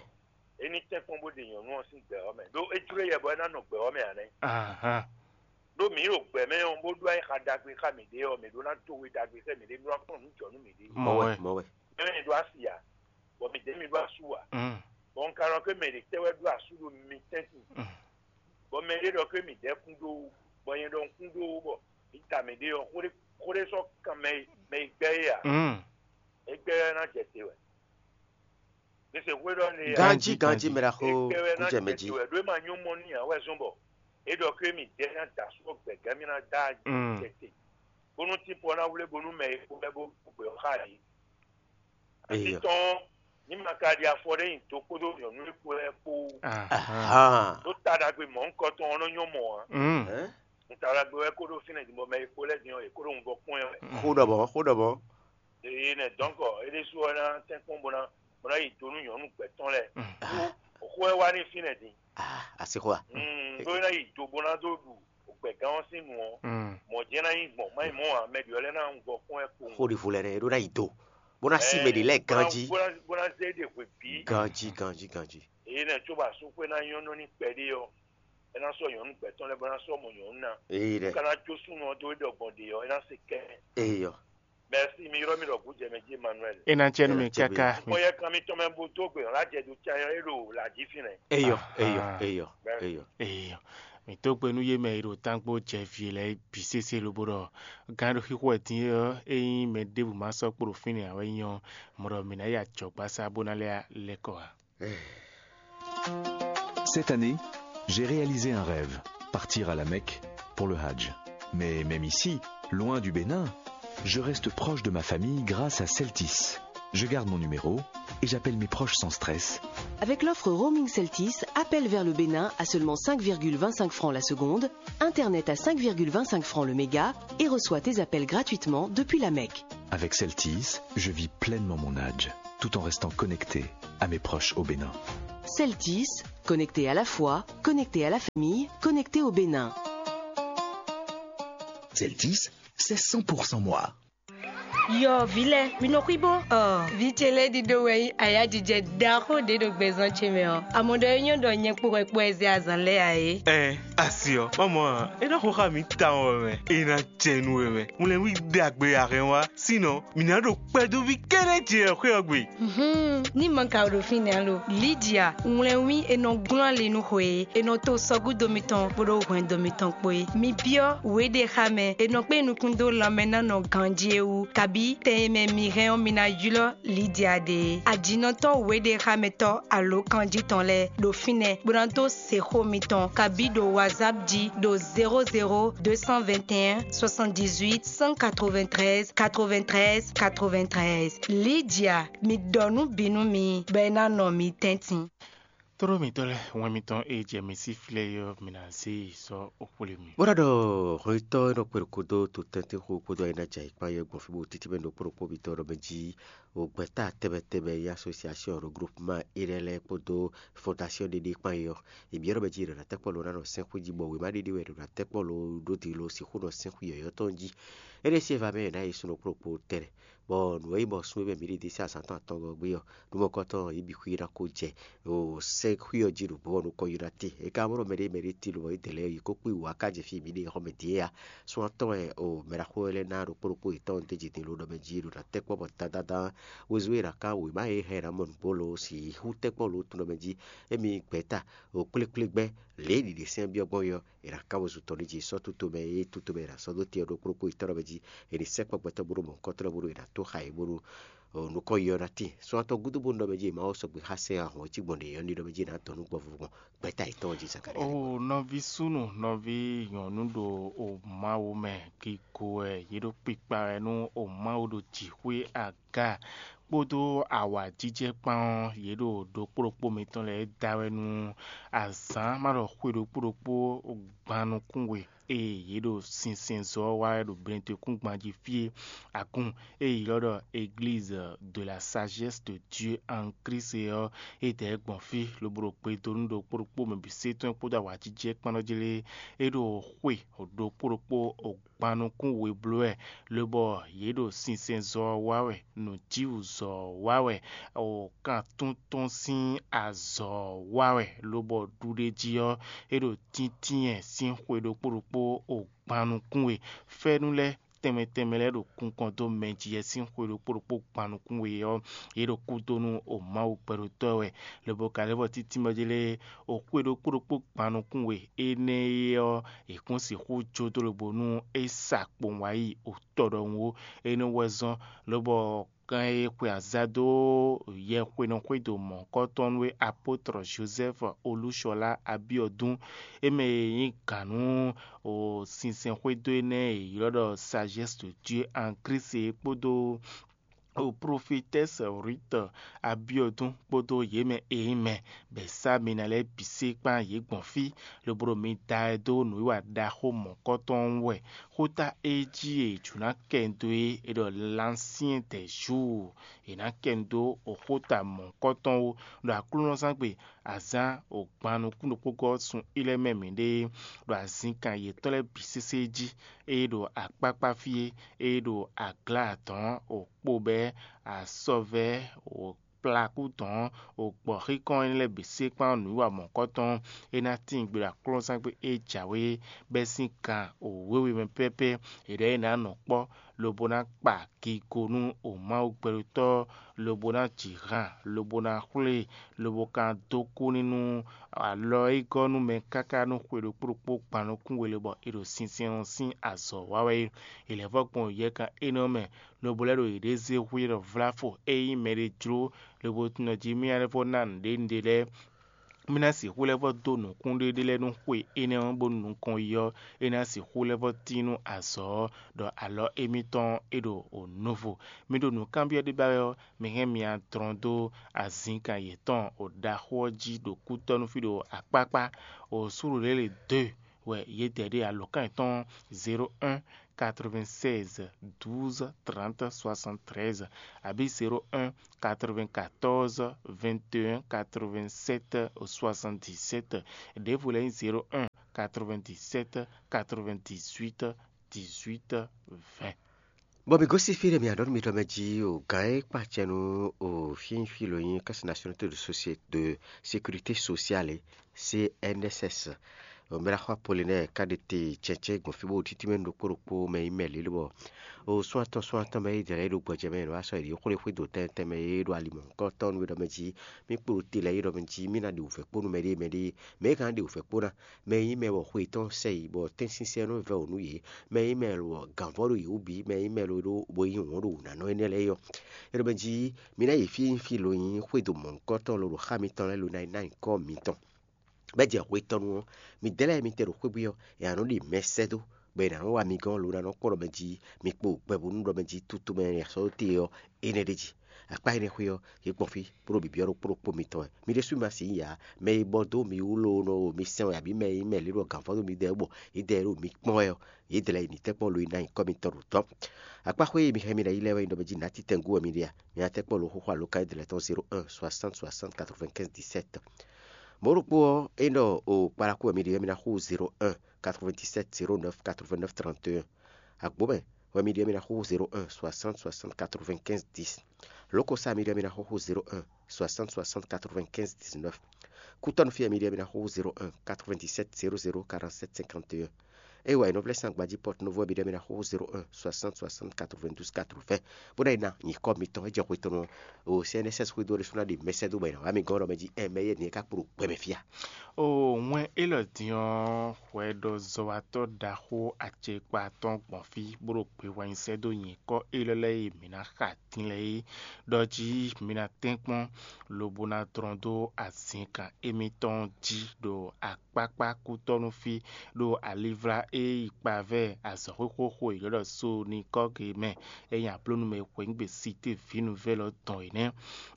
É ní tɛ́nkpɔ́n bó ɖe nyɔ̌nu ɔ́ sín gbɛ ɔ́ mɛ, ɖó é jló yɛ bɔ é ná nɔ gbɛ ɔ́ mɛ ǎ nɛ́. Ahan. Ɖó mǐ ɖo gbɛ mɛ ɔ́, bó ɖó ayixa ɖagbe xá mǐɖée ɔ́, mǐ ɖó ná dó we ɖagbe xá mǐɖée, bó ná kplɔ́n nǔ jɔ nú mǐɖée. Mɔ̌ wɛ, mɔ̌ wɛ. Mɛ mi ɖó asi ǎ, bɔ mǐ dɛ́ mi ɖó asú ǎ. Mm. Bɔ un ka nɔ ké mɛ ɖě tɛ́ wɛ ɖó asú ɖo mi tɛ́ntin. Mm. Bɔ mɛ ɖé ɖɔ ké mǐ dɛ́ kún ɖó wú, bɔ nyɛ ɖɔ un kún ɖó wú, bɔ mǐ ta mǐɖée ɔ́, xó ɖé xó ɖé sɔ́ kan mɛ e mɛ e gbɛ́ é ǎ. Mm. É gbɛ́ ɔ́ ná jɛ te wɛ. Mǐ se xwé ɖɔ n'i ǎ. Ganjí, ganjí, mɛ ɖaxó, é gbɛ́ wɛ ná kújɛ mɛ jɛ jí. Te wɛ ɖó é ma nyɔ́ mɔ n'i ǎ wɛ zɔ́n bɔ é ɖɔ ké mǐ dɛ́ ná da asú ɔ́ gbɛ̌gán mì ná dá Mm. jɛ te. Bónú tínpɔ ná wlé bónú mɛ e kpo lɛ́ɛ bó gbɛ ɔ́ xá yě. Eyɔ. Atitɔn ní ma ka ɖi afɔ ɖé nyi do kpódó nyɔ̌nu e kpo lɛ́ɛ kpó. Ahan. Ɖó ta ɖagbe mɔ̌hunkɔtɔn ɔ́ nɔ nyɔ́ mɔ ǎ. Mm. Hɛn? Un ta ɖagbe wɛ kó ɖó fínɛ́ din bɔ mɛ e kpo lɛ́ɛ din ɔ́, yě kó ɖo wunvɔ kpɔ́n ɛ wɛ. Xó ɖɔ mɔ̌, xó ɖɔ mɔ̌. Eye nɛ dɔ̌nkɔ é ɖésú ɔ́ ná tɛ́nkpɔ́n bó ná bó ná yi do nú nyɔ̌nu gbɛ̌ tɔn lɛ́ɛ. Mm. Xó ɛ wá ní fínɛ́ din. Ah, asixɔ a? Mm, bó ná yi do bó ná dó ɖu gbɛ̌gán ɔ́ sín nǔ ɔ́, Mm. mɔ̌ jɛ́n ná nyí gbɔn, má nyí mɔ̌ ǎ, mɛ ɖě ɔ́ lɛ́ɛ ná wunvɔ kpɔ́n ɛ kpowun. Xó ɖi vo lɛ nɛ, é ɖó ná yi do. Bó ná sí mɛ ɖě lɛ́ɛ ganjí. Bó ná bó ná zé ɖe hwe bǐ. Ganjí, ganjí, ganjí. Eye nɛ tso bɔ asúxwé ná nyɔ́ nɔ ní kpɛɖé ɔ́, é ná sɔ́ nyɔ̌nu gbɛ̌ tɔn lɛ́ɛ bó ná sɔ́ mɔ nyɔ̌nu ná. Eyi ɖɛ. Ká ná jó súnnu ɔ́ dó é ɖɔ gbɔn ɖě ɔ́, é ná se kɛ́. Eyɔ. Merci, mi ylɔ́ mì ɖɔ gǔ jɛ mɛ jí Emmanuel. É ná cɛ nú mi Ɛ, cɛ káká. Bɔ yɛ kan mitɔn mɛ bo dó gbe ɔ́, lá jɛ do can ɔ́, é ɖo lǎ jí fínɛ́. Eyɔ, eyɔ, Ahan. eyɔ, Bɛɛ. eyɔ. Eyɔ. Mǐ dó gbe nú yé mɛ e ɖo tánkpó jɛ vǐ lɛ́ɛ bǐ sésé lobo ɖɔ gán ɖo xixo wɛ din é ɔ́, ényí mɛ ɖěbǔ ma sɔ́ kpo ɖo fínɛ́ ǎ wɛ nyí ɔ́, mɔ ɖɔ mǐ ná yi ajɔ̌gbasá bó ná lɛ́ lɛ́ kɔ ǎ. Cette année, j'ai réalisé un rêve, partir à la Mecque pour le Hajj. Mais même ici, loin du Bénin, je reste proche de ma famille grâce à Celtis. Je garde mon numéro et j'appelle mes proches sans stress. Avec l'offre roaming Celtis, appel vers le Bénin à seulement cinq virgule vingt-cinq francs la seconde, Internet à cinq virgule vingt-cinq francs le méga et reçois tes appels gratuitement depuis la Mecque. Avec Celtis, je vis pleinement mon Hajj. tout en restant connecté à mes proches au Bénin. Celtis, connecté à la foi, connecté à la famille, connecté au Bénin. Celtis, c'est cent pour cent moi. Yɔ, vǐ lɛ́ɛ, mi nɔ xwíbó ɔ. Vǐ ce lɛ́ɛ ɖiɖó wɛ nyí ayájijɛ ɖaxó ɖě ɖo gbɛzán ce mɛ ɔ́. Amɔ̌ ɖɔ é nyɔ́ ɖɔ nyɛ kpo wɛ kpo wɛ zɛ azǎn lɛ́ɛ ǎ é. Ɛn, asi ɔ́, má mɔ ǎ. É ná xo xá mǐ tawun wɛ mɛ. É ná jɛ nú we mɛ. Ŋlɛ́nwí ɖagbe a hɛn wá. Sínɔ, mǐ ná ɖo kpɛdóví kɛ́ɖɛ́ ce wɛ xwé ɔ́ gbe. Ní ma ka ɖo fínɛ́ alo Lidia, ŋlɛ́nwí e nɔ glɔ́n ali nú xwe e, e nɔ to sɔgúdo mitɔn kpódó hwɛndo mitɔn kpó é. Mi byɔ́ wěɖé xá mɛ, e nɔ kpé nukún dó lanmɛ ná nɔ ganjí é wú, kabí tɛn e mɛ mi hɛn ɔ́, mi ná ylɔ́ Lidia ɖe é. Ajinɔtɔ́ wěɖé xá mɛ tɔ́ alǒkanjí tɔn lɛ́ɛ ɖo fínɛ́, bó ná dó se xó mitɔn, kabí ɖo WhatsApp jí ɖo zéro zéro deux cent vingt et un soixante-dix-huit cent quatre-vingt-treize quatre-vingt-treize quatre-vingt-treize. Lidia, mi ɖɔ nǔ bǐ nú mi, bɔ é ná nɔ mi tɛ́ntin. Tlóló mǐtɔn lɛ́ɛ, wɛn mitɔn e jɛ mǐ sí flɛ́ é ɔ́, mi ná zé yi sɔ́ xwlé mì. Bó ná ɖɔ hwetɔ́ e nɔ kpe ɖo kúdó to tɛ́ntin xo kpódó ayǐ ná jɛ ayǐ kpán yɛ gbɔn fí bó títí mɛ ɖo kpóɖokpó mitɔn ɖɔ mɛ jí o gbɛ̌ta tɛnmɛ tɛnmɛ e asosiasiɔn regroupement énɛ́ lɛ́ɛ kpódó fondasiɔn ɖé ɖé kpán é ɔ́, è byɔ́ ɖɔ mɛ jí è ɖo ná tɛ́ kpɔ́ lo ná nɔ sɛ́n xwí jí, bɔ wěma ɖé ɖé wɛ è ɖo ná tɛ́ kpɔ́ lo ɖó din lo sixú nɔ sɛ́n xwí yɔ̌yɔ́ tɔn jí. Énɛ́ sín e va mɛ è nǎ yi sun ɖokpó ɖokpó tɛnɛ, bɔ nǔ e nyí bɔ sun e mɛ mǐ ɖi ɖésú azǎn tɔn atɔngɔ́ gbé ɔ́, nǔmɔkɔ́tɔn yě bǐ xwí ná kó jɛ o sɛ́n xwí ɔ́ jí ɖo bɔ̌ nukɔn Yonati. É ka mɔ ɖɔ mɛɖé mɛɖé tílo bɔ é dɛ lɛ́ɛ yě kó kpé wǔ wá ká jɛ fí mǐ ɖe xɔmɛ din é ǎ. Sun atɔn wɛ o mɛ ɖaxó lɛ́ɛ ná ɖokpó ɖokpó yětɔn d'é jǐ din lo ɖɔ mɛ jí ɖo ná tɛ́ kpɔ́ bɔ dandandan wezun e è nǎ kán wěma e hɛn ná mɔ nǔgbó lo si hú tɛ́ kpɔ́ lo tun ɖɔ mɛ jí émí gbɛ̌ta o kplékplégbɛ́ lě e ɖiɖe sɛ́n byɔ́ gbɔn é ɔ́, è nǎ kán wezun tɔn ɖ'é jí sɔ́ tuto mɛ e tuto mɛ è nǎ sɔ́ dó te ɔ́ ɖokpó ɖokpó yětɔn ɖɔ mɛ jí è nǐ sɛ́ kpɔ́ gbɛtɔ́ bónú mɔ̌hunkɔtɔn bónú è nǎ tó xa yě bónú nukɔn yi ɔ́ ná tíin. Sɔ́ atɔn gúdo bónú ɖɔ mɛ jí è ma wɔ sɔgbe xá sɛ́n ahɔn ɔ́ cí gbɔn ɖě ɔ́ ní ɖɔ mɛ jí è nǎ dɔn nú gbɔvuvɔ gbɔn gbɛ́ta yětɔn ɔ́ jí Zakalía. O nɔví súnnu, nɔví nyɔ̌nu ɖo o Mawu mɛ, gigo wɛ yě ɖo kpikpa wɛ nú o Mawu ɖo jǐxwé aga kpódó awǎjijɛ kpán ɔ́, yě ɖo ɖokpó ɖokpó mitɔn lɛ́ɛ da wɛ nú azǎn ma ɖɔ xwe ɖokpó ɖokpó gban nukún we. Ée yě ɖo sinsɛnzɔ́ ɔ́ wa wɛ ɖo Benɛtɔ́kúngban jí fí é, agun e è ylɔ́ ɖɔ Église de la Sagesse de Dieu en Christ é ɔ́, é dɛ gbɔn fí lobo ɖo gbe dó nú ɖokpó ɖokpó mɛ bǐ sé tɔn kpódó awǎjijɛ kpán ɔ́ jí lé. É ɖo xwe ɖokpó ɖokpó gban nukún we bló wɛ, lobɔ yě ɖo sinsɛnzɔ́ ɔ́ wa wɛ, nǔjíwǔzɔ́ ɔ́ wa wɛ, o kan tún tɔn sín azɔ̌ ɔ́ wa wɛ, lobɔ ɖuɖé jí ɔ́, é ɖo tíntínyɛ sín xwe ɖokpó ɖokpó o gban nukún we. Fɛ́nú lɛ́ɛ tɛnmɛ tɛnmɛ lɛ́ɛ ɖo kunkɔn dó mɛ jí yɛ sín xwe ɖokpó ɖokpó gban nukún we ɔ́, yě ɖo kúdó nú o Mawu gbɛɖotɔ́ wɛ, lobo ka lɛ́ vɔ títí mɛ jí lé o xwe ɖokpó ɖokpó gban nukún we énɛ́ é ɔ́, è kún sixú jó dó lobo nú é sa kpowun wá yi o tɔ ɖɔhun ó. Énɛ́ wɛ zɔ́n lobɔ kan e xwe azǎn dó yɛhwenɔxwédo mɔ̌hunkɔtɔn nú é apotr Jozɛ́fu Olúshɔlá Abiɔdún, é mɛ e nyí gǎn nú sinsɛnxwédo énɛ́ e è ylɔ́ ɖɔ Sagesse de Dieu en Christ é kpódó o profetɛ́si Rut Abiɔdún kpódó yě mɛ e nyí mɛ bɔ è sá mi ná lɛ́ɛ bǐ sé kpán yě gbɔn fí, lobo ɖo mi da ɛ dó nǔwiwa ɖaxó mɔ̌kɔtɔn ɔ́ wú wɛ. Xóta e jí è jǒ ná kɛ nu dó é, è ɖɔ l'ancien des jours, è nǎ kɛ nu dó xóta mɔ̌kɔtɔn ó, ɖo aklúnɔzángbe azǎn o gban nukún ɖokpó gɔ́ sun ilɛ́ mɛ mǐɖée, ɖo azinkan yětɔn lɛ́ɛ bǐ sésé jí, ée ɖo akpákpá fí é, ée ɖo aglǎ adɔ̌n o kpobɛ́ asɔvɛ́ o kplakú dɔ̌n o gbɔ̌xíkɔ́n énɛ́ lɛ́ɛ bǐ sé kpán nǔwiwa mɔ̌kɔtɔn, é ná tíin gbe ɖo aklúnɔzángbe e jǎwe bɛ́ sín kan o wěwe mɛ pɛ́pɛ́. È ɖɔ é ná nɔ kpɔ́, lobo ná kpa gigo nú o Mawu gbɛɖotɔ́, lobo ná ji han, lobo ná xwlé, lobo ka dó kú ní nú alɔ e gɔ́ nú mɛ káká nú xwe ɖokpó ɖokpó gban nukún we lobɔ è ɖo sinsɛn ɔ́ sín azɔ̌ wa wɛ é. È lɛ̌ vɔ́ gbɔn yɛkan énɛ́ ɔ́ mɛ, lobo lɛ́ ɖo yěɖée zé hwíɖɔ vláfo e nyí mɛɖé jló, lobo tunɔ jí mì ná lɛ́ vɔ́ ná nǔɖé nǔɖé lɛ́ɛ. Mì ná sixú lɛ́ vɔ́ dó nǔkún ɖéɖé lɛ́ɛ nú xwe énɛ́ ɔ́, bónú nukɔn yi ɔ́, é ná sixú lɛ́ vɔ́ tín nú azɔ̌ ɔ́, ɖɔ alɔ émítɔn é ɖo o nuvo. Mi ɖo nǔkanbyɔ́ ɖé ba wɛ ɔ́, mi hɛn myadrɔn dó azinkan yětɔn o ɖaxó ɔ́ jí ɖo kútɔ́ nú fí ɖo akpákpá. O súɖuɖěle dó wɛ yě dɛ ɖé alǒkan yětɔn zéro un quatre-vingt-seize douze trente soixante-treize, abǐ zéro un quatre-vingt-quatorze vingt et un quatre-vingt-sept soixante-dix-sept. Ɖěvo lɛ́ɛ nyí zéro un quatre-vingt-dix-sept quatre-vingt-dix-huit dix-huit vingt. Bɔ mǐ gosín fí ɖé mǐ aɖɔ̌nu mitɔn mɛ jí o, gǎn e kpa acɛ nú o fínfín lo nyí Caisse Nationale de Société de Sécurité Sociale, C N S S. Mɛ ɖaxó Apolinɛ́ɛ ka ɖe te cɛncɛn gbɔn fí bó ɖo títí mɛ nú ɖokpó ɖokpó mɛ nyí mɛ lě lobɔ o sún atɔn sún atɔn mɛ é jɛ lɛ́ ɖo gbɔjɛ mɛ ɖo asɔ yě xwlé xwé do tɛntɛn mɛ é ɖo ali mɔ̌hunkɔtɔn nú é ɖɔ mɛ jí. Mí kpo ɖo te lɛ́ɛ é ɖɔ mɛ jí mí ná ɖe wǔvɛ́ kpó nú mɛɖée mɛɖée mɛ é ka ná ɖe wǔvɛ́ kpó ná. Mɛ e nyí mɛ bɔ xwe yětɔn sɛ yi bɔ tɛ́nsinsɛn nɔ vɛ́ wǔ nú yě, mɛ e nyí mɛ lɔ gǎnvɔ́ ɖo yě wú bǐ, mɛ e nyí mɛ lɔ ɖó bo nyí wǔn ɖo wǔnánɔ énɛ́ lɛ́ɛ é ɔ́, é ɖɔ mɛ jí mi ná yi fí e nyí fí lo nyí xwédo mɔ̌hunkɔtɔn lo ɖo xá mitɔn lɛ́ɛ lo ná yi ná nyǐkɔ mitɔn. Bɔ é jɛ hwe tɔn nu ɔ́, midɛɛ lɛ́ɛ e mi tɛ ɖo xwé bwí ɔ́, è nǎ nɔ ɖi mɛ sɛ́ dó, bɔ è nǎ nɔ wá mi gɔ́n lo ná nɔ kpɔ́ ɖɔ mɛ jí mi kpo gbɛbúnú ɖɔ mɛ jí tutu mɛ e è sɔ́ dó te ɔ́, énɛ́ ɖ'é jí. Akpá énɛ́ xwé ɔ́, yě gbɔn fí bó ɖo bǐbyɔ́ ɖokpó ɖokpó mitɔn wɛ. Mi ɖésú ma sixú yi ǎ. Mɛ e bɔ dó mi wú lónɔ o mi sɛn wɛ abǐ mɛ e nyí mɛ lě ɖo gǎnfɔ́n dó mi dɛ bɔ yě dɛ ɖo mi kpɔ́n wɛ ɔ́, yě dɛ lɛ́ɛ yi ní tɛ́ kpɔ́n lo e ná nyǐkɔ mitɔn ɖo tɔ́. Akpá xwé e mi hɛn mi ná yi lɛ́ɛ wɛ nyí ɖɔ mɛ jí nǎ titɛngú wɛ mi ɖe a? Mi ná tɛ́ kpɔ́n lo xóxó alǒkan e dlɛ̌ tɔn zéro un soixante soixante quatre-vingt-quinze dix-sept. Mɔ̌ ɖokpó ɔ́, é ɖɔ o kpalákú wɛ mi ɖe wɛ mi ná xú zéro un quatre-vingt-dix-sept zéro neuf quatre-vingt-neuf trente et un. Agbǒmɛ wɛ mi ɖe mi ná xóxó zéro un soixante soixante quatre-vingt-quinze dix. Lǒkosá mi ɖe mi ná xóxó zéro un soixante soixante quatre-vingt-quinze dix-neuf. Kútɔ́nú fí wɛ mi ɖe mi ná xóxó zéro un quatre-vingt-dix-sept zéro zéro quarante-sept cinquante et un. É wɛ nɔvlɛ́sán gbají Pɔ́tu Novo wɛ mi ɖe mi ná xóxó zéro un soixante soixante quatre-vingt-douze quatre-vingts. Bó ná yi ná nyǐkɔ mitɔn é jɛ xwe tɔn o C N S S xwedó ɖésú ná ɖe mɛsɛ́dó bɔ è nǎ wá mi gɔ́n ɖɔ mɛ jí ɛ mɛ yɛ nǐ é ká kpo ɖo gbɛ mɛ fí a? O wɛn élɔ́ din ɔ́, hwɛɖɔzɔ́watɔ́ ɖaxó acɛkpa tɔn gbɔn fí bó ɖo gbe wá nyi sɛ́ dó nyǐkɔ élɔ́ lɛ́ɛ e mǐ ná xa din lɛ́ɛ é ɖɔ jí mi ná tɛ́nkpɔ́n, lobo ná dlɔ́n dó azǐnkan émítɔn jí ɖo akpákpá kútɔ́nú fí, ɖo alivla e yi kpavɛ́ azɔ̌xwé xóxó e yě ɖɔ so n'i kɔ́ ge mɛ, é nyí ablónú mɛ e hweyǐgbe Sitée vǐ nǔvɛ́lɔ́ dɔn é nɛ́,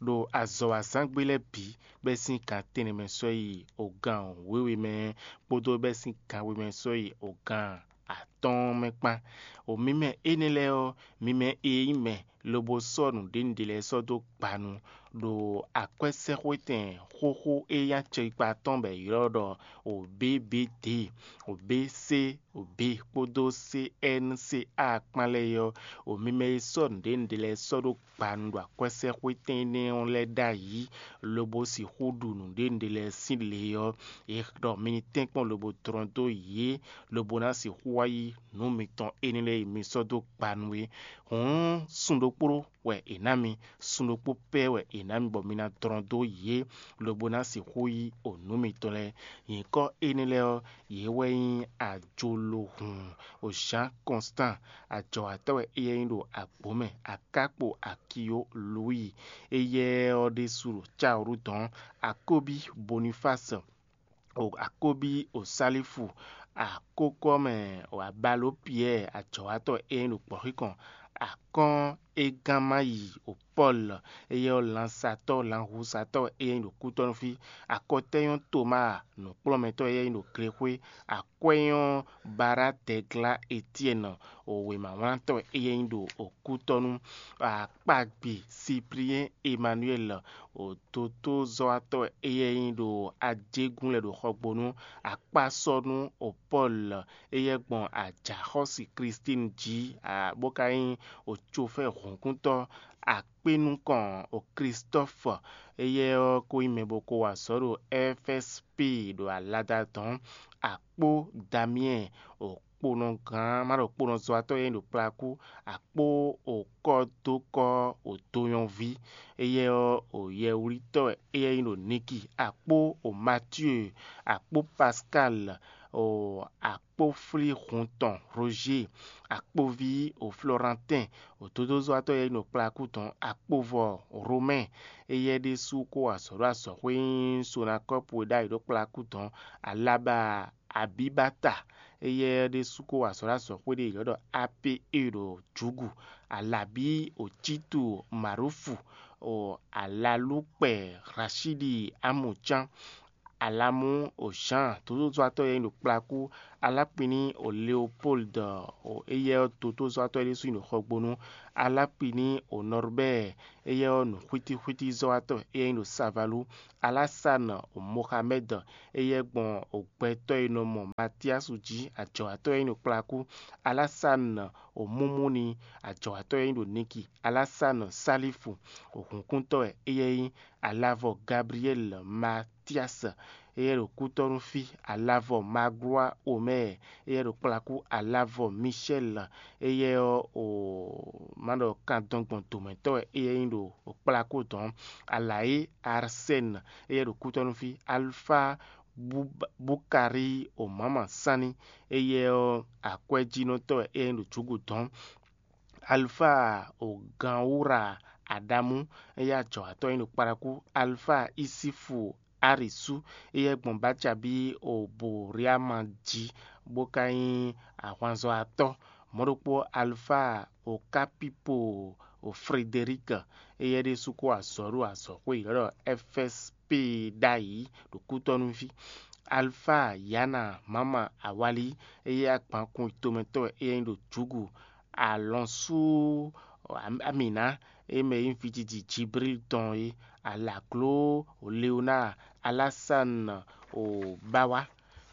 ɖo azɔ̌ wa zán gbé lɛ́ɛ bǐ, bɛ́ sín gan tɛ́nnɛ mɛ sɔ́ yi ogan wěwe mɛ, kpódó bɛ́ sín gan we mɛ sɔ́ yi ogan atɔ́ɔ́n mɛ kpán. O mi mɛ énɛ́ lɛ́ɛ ɔ́, mi mɛ e nyí mɛ lobo sɔ́ nǔɖénúɖé lɛ́ɛ sɔ́ dó gbanu, ɖo akwɛ́sɛ́xwetɛn xóxó e nyí acɛkpa tɔn bɔ è ylɔ́ ɖɔ o B B D, o B C, o B kpódó C N C A kpán lɛ́ɛ é ɔ́, o mi mɛ e sɔ́ nǔɖénúɖé lɛ́ɛ sɔ́ ɖó gbanu ɖo akwɛ́sɛ́xwetɛn énɛ́ ɔ́ lɛ́ɛ ɖ'ayǐ, lobo sixú ɖu nǔɖénúɖé lɛ́ɛ sín le ɔ́, è ɖɔ mi ní tɛ́nkpɔ́n lobo dlɔ́n dó yě, lobo ná sixú wá yí nǔ mitɔn énɛ́ lɛ́ɛ e mi sɔ́ dó gbanu é. Hǔn sun ɖokpó wɛ è nǎ mi, sun ɖokpó pɛ́ wɛ è nǎ mi bɔ mi ná dlɔ́n dó yě, lobo ná sixú yí o nǔ mitɔn lɛ́ɛ. Nyǐkɔ énɛ́ lɛ́ɛ ɔ́, yě wɛ nyí ajolohun o Jean Constant, ajɔ̌watɔ́ wɛ éyɛ́ nyí ɖo agbǒ mɛ, Akákpo Akiyo Louis, éyɛ́ ɔ́ ɖésú ɖo Cáolú dɔn, Akóbí Bonifási, o Akóbí o Sálífu, akókɔ́ mɛ o Abaló Piyɛ́ɛ, ajɔ̌watɔ́ éyɛ́ nyí ɖo gbɔ̌xíkɔn, akɔ́n e gán má yi o Pɔ́lu, éyɛ́ ɔ́ lansatɔ́ lanhusatɔ́ éyɛ́ nyí ɖo kútɔ́nú fí, akɔtɛ́nyɔ́ Tomáa, nǔkplɔ́nmɛtɔ́ éyɛ́ nyí ɖo Glexwé, akwɛ́nyɔ́ Baradɛglá Etyɛ́ni, o wěmawlantɔ́ éyɛ́ nyí ɖo kútɔ́nú, akpagbe Sipliɛ́n Emanuyɛ́li, o dotozɔ́watɔ́ éyɛ́ nyí ɖo ajégún lɛ́ɛ ɖo xɔgbónú, akpásɔ́nú o Pɔ́lu, éyɛ́ gbɔn ajǎxɔ́si Klístín jí, bó ka nyí o cofɛ́ hǔnkúntɔ́, akpé nukɔn o Klistɔ́fu, éyɛ́ ɔ́ ko nyí mɛ bɔ ko wa azɔ̌ ɖo F S P ɖo alada dɔ̌n, akpó Damiyɛ́ɛ, o kponɔgán má ɖo kponɔzɔ́watɔ́ e nyí ɖo kplakú, akpó o kɔ́dókɔ́ o donyɔ́ví, éyɛ́ ɔ́ o yɛwlítɔ́ wɛ éyɛ́ nyí ɖo Niki, akpó o Matíe, akpó Paskáli, o akpóflíhun tɔn Rožée, akpóví o Florantɛ́n, o dodozɔ́watɔ́ e nyí ɖo kplakú dɔ̌n, akpovɔ Romɛ́ɛ, éyɛ́ ɖésú ko wa azɔ̌ ɖo azɔ̌xwé nyí Sonakɔ́pu e ɖ'ayǐ ɖo kplakú dɔ̌n, Alaba Abibata, éyɛ́ ɖésú ko wa azɔ̌ ɖo azɔ̌xwé ɖé yě ɖɔ Ape e ɖo Jǔgu, Alabí o Cítu Marufu, o Alalúkpɛ Hlacíɖi Amɔ̌cán, Alamú o Jean, dodozɔ́watɔ́ e nyí ɖo kplakú, Alapini o Leopold, o éyɛ́ ɔ́ dodozɔ́watɔ́ e ɖésú nyí ɖo Xɔgbónu, Alapini o Norbert, éyɛ́ ɔ́ nǔxwítíxwítízɔ́watɔ́ e nyí ɖo Savalu, Alasane o Mohamed, éyɛ́ gbɔn o gbɛtɔ́ e nɔ mɔ Matiasu jí, ajɔ̌watɔ́ e nyí ɖo kplakú, Alasane o Mumuni, ajɔ̌watɔ́ e nyí ɖo Niki, Alasane Salifu o hǔnkúntɔ́ wɛ éyɛ́ nyí, Alavɔ Gabriel Matias, éyɛ́ ɖo kútɔ́nú fí, Alavɔ Magloire Omer, éyɛ́ ɖo kplakú, Alavɔ Michel, éyɛ́ ɔ́ o má ɖɔ kandɔn gbɔn dǒmɛtɔ́ wɛ éyɛ́ nyí ɖo kplakú dɔn, Alayi Arsène, éyɛ́ ɖo kútɔ́nú fí, Alfa Bukari o Mama Sani, éyɛ́ ɔ́ akwɛ́jínɔtɔ́ wɛ éyɛ́ nyí ɖo jǔgu dɔn. Alfa o Ganwura Adamu, éyɛ́ ajɔ̌watɔ́ nyí ɖo kplakú, Alfa Isifu Arisu, éyɛ́ gbɔn Bacabí o Boriama jí, bó ka nyí ahwanzɔ́watɔ́. Mɔ̌ ɖokpó Alfa o Kapipo o Frederic, éyɛ́ ɖésú kó azɔ̌ ɖo azɔ̌xwé yěɖɔ́ ɖɔ F S P ɖ'ayǐ ɖo kútɔ́núví. Alfa Yana Mama Awali, éyɛ́ agbankun tomɛtɔ́ wɛ éyɛ́ nyí ɖo jǔgu, Alɔnsú Amina, e mɛ e nyí vijiji Jibril tɔn é, Alagló Leonáa, Alásán o Báwá,